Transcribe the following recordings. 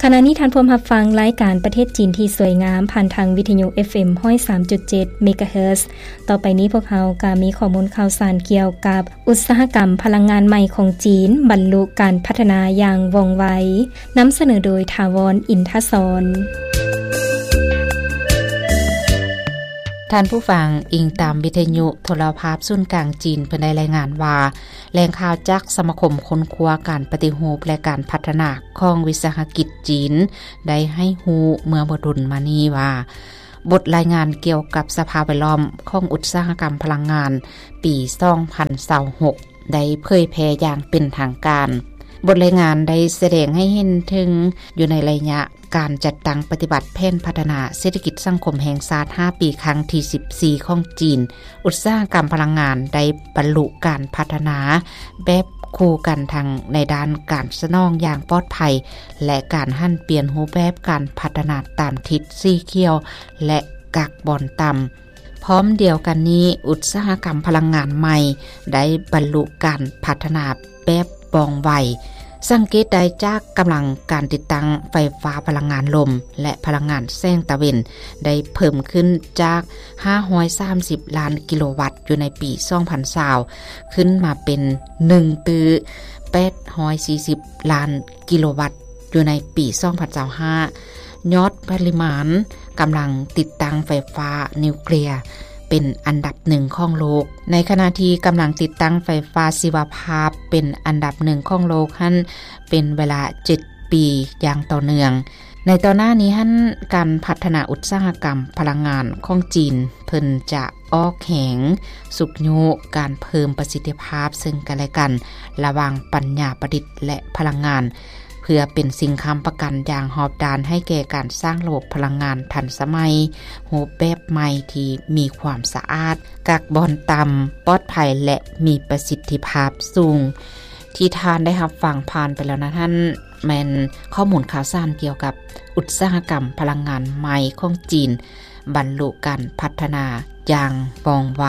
ຂະນະນີ້ທ່ານພວມຮັບຟັງລາຍການປະເທດຈີນທີ່ສວຍງາມ ຜ່ານທາງວິທະຍຸ ເອັຟເອັມ ຮ້ອຍສາມຈຸດເຈັດ ເມກາເຮີດ. ຕໍ່ໄປນີ້ພວກເຮົາກໍມີຂໍ້ມູນຂ່າວສານກ່ຽວກັບອຸດສາຫະກຳພະລັງງານໃໝ່ຂອງຈີນ ບັນລຸການພັດທະນາຢ່າງວ່ອງໄວ. ນຳສະເໜີໂດຍ ຖາວອນ ອິນທະສອນ. ທ່ານຜູ້ຟັງ, ອີງຕາມວິທະຍຸໂທລະພາບສູນກາງຈີນ ເພິ່ນໄດ້ລາຍງານວ່າ ແຫຼ່ງຂ່າວຈາກສະມາຄົມຄົ້ນຄວ້າການປະຕິຮູບ ແລະ ການພັດທະນາຂອງວິສາຫະກິດຈີນ ໄດ້ໃຫ້ຮູ້ເມື່ອບໍ່ດົນມານີ້ວ່າ ບົດລາຍງານກ່ຽວກັບສະພາບແວດລ້ອມຂອງອຸດສາຫະກຳພະລັງງານປີສອງພັນຊາວຫົກ ໄດ້ເຜີຍແຜ່ຢ່າງເປັນທາງການ. ບົດລາຍງານໄດ້ສະແດງໃຫ້ເຫັນເຖິງ ຢູ່ໃນໄລຍະການຈັດຕັ້ງປະຕິບັດແຜນພັດທະນາເສດຖະກິດສັງຄົມແຫ່ງຊາດຫ້າປີ ຄັ້ງທີສິບສີ່ຂອງຈີນ, ອຸດສາຫະກຳພະລັງງານໄດ້ບັນລຸການພັດທະນາແບບຄູ່ກັນ ທັງໃນດ້ານການສະໜອງຢ່າງປອດໄພ ແລະ ການຫັນປ່ຽນຮູບແບບການພັດທະນາຕາມທິດສີຂຽວ ແລະ ກາກບອນຕ່ຳ. ພ້ອມດຽວກັນນີ້, ອຸດສາຫະກຳພະລັງງານໃໝ່ໄດ້ບັນລຸການພັດທະນາແບບວ່ອງໄວ. ສັງເກດໄດ້ຈາກກຳລັງການຕິດຕັ້ງໄຟຟ້າພະລັງງານລົມ ແລະ ພະລັງງານແສງຕາເວັນ ໄດ້ເພີ່ມຂຶ້ນຈາກຫ້າຮ້ອຍສາມສິບລ້ານກິໂລວັດຢູ່ໃນປີສອງພັນຊາວ ຂຶ້ນມາເປັນໜຶ່ງຕື້ແປດຮ້ອຍສີ່ສິບລ້ານກິໂລວັດຢູ່ໃນປີສອງພັນຊາວຫ້າ. ຍອດປະລິມານກຳລັງຕິດຕັ້ງໄຟຟ້ານິວເຄລຍເປັນອັນດັບໜຶ່ງຂອງໂລກ, ໃນຂະນະທີ່ກຳລັງຕິດຕັ້ງໄຟຟ້າຊີວະພາບເປັນອັນດັບໜຶ່ງຂອງໂລກຫັ້ນ ເປັນເວລາເຈັດປີຢ່າງຕໍ່ເນື່ອງ. ໃນຕໍ່ໜ້ານີ້ຫັ້ນ, ການພັດທະນາອຸດສາຫະກຳພະລັງງານຂອງຈີນ ເພິ່ນຈະອອກແຮງຊຸກຍູ້ການເພີ່ມປະສິດທິພາບເຊິ່ງກັນແລະກັນ ລະຫວ່າງປັນຍາປະດິດ ແລະ ພະລັງງານ ເພື່ອເປັນສິ່ງຄ້ຳປະກັນຢ່າງຮອບດ້ານໃຫ້ແກ່ການສ້າງລະບົບພະລັງງານທັນສະໄໝ ຮູບແບບໃໝ່ທີ່ມີຄວາມສະອາດ, ກາກບອນຕ່ຳ, ປອດໄພ ແລະ ມີປະສິດທິພາບສູງ. ທີ່ທ່ານໄດ້ຮັບຟັງຜ່ານໄປແລ້ວນັ້ນ ແມ່ນຂໍ້ມູນຂ່າວສານກ່ຽວກັບອຸດສາຫະກຳພະລັງງານໃໝ່ຂອງຈີນ ບັນລຸການພັດທະນາຢ່າງວ່ອງໄວ.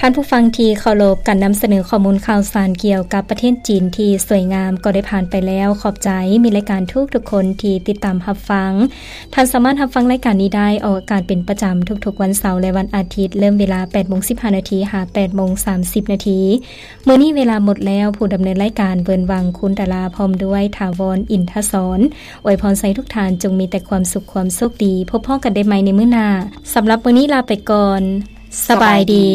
ທ່ານຜູ້ຟັງທີ່ເຄົາລົບ, ການນຳສະເໜີຂໍ້ມູນຂ່າວສານກ່ຽວກັບປະເທດຈີນທີ່ສວຍງາມກໍໄດ້ຜ່ານໄປແລ້ວ. ຂອບໃຈມິດລາຍການທຸກໆຄົນທີ່ຕິດຕາມຮັບຟັງ. ທ່ານສາມາດຮັບຟັງລາຍການນີ້ໄດ້ ອອກອາກາດເປັນປະຈຳທຸກໆວັນເສົາ ແລະ ວັນອາທິດ, ເລີ່ມເວລາແປດໂມງສິບຫ້ານາທີ ຫາ ແປດໂມງສາມສິບນາທີ. ມື້ນີ້ເວລາໝົດແລ້ວ, ຜູ້ດຳເນີນລາຍການ ເວີນວັງ ຄຸນຕາລາ ພ້ອມດ້ວຍ ຖາວອນ ອິນທະສອນ ອວຍພອນໃຫ້ທຸກທ່ານຈົ່ງມີແຕ່ຄວາມສຸກຄວາມໂຊກດີ. ພົບພໍ້ກັນໄດ້ໃໝ່ໃນມື້ໜ້າ. ສຳລັບມື້ນີ້ລາໄປກ່ອນ. ສະບາຍດີ.